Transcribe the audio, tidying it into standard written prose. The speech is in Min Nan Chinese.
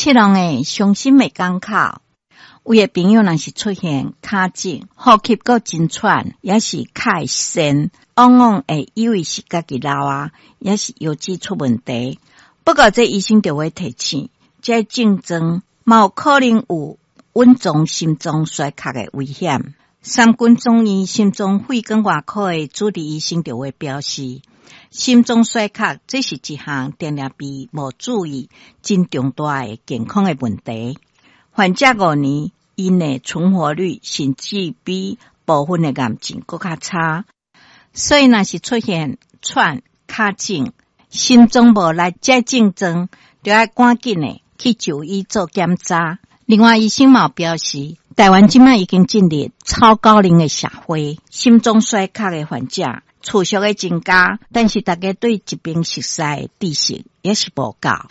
七人的傷心的港口。有的朋友若是出現跤腫、呼吸閣真喘，抑是跤會鉎，往往會以為是家己老啊，抑是腰子出問題。不過這醫生就會提醒，這症狀嘛有可能有隱藏心臟衰竭的危險。三軍總醫心臟血管外科的主治醫生就會表示，心臟衰竭這是一項定定被無注意、真重大的健康的問題。患者5年，𪜶的存活率甚至比部分的癌症閣較差。所以，若是出現喘、跤腫、心臟無力這症狀，就愛趕緊的去就醫做檢查。另外，醫生嘛表示，台灣這擺已經進入超高齡的社會，心臟衰竭的患者持續的增加，但是大家對疾病熟悉的知識也是無夠。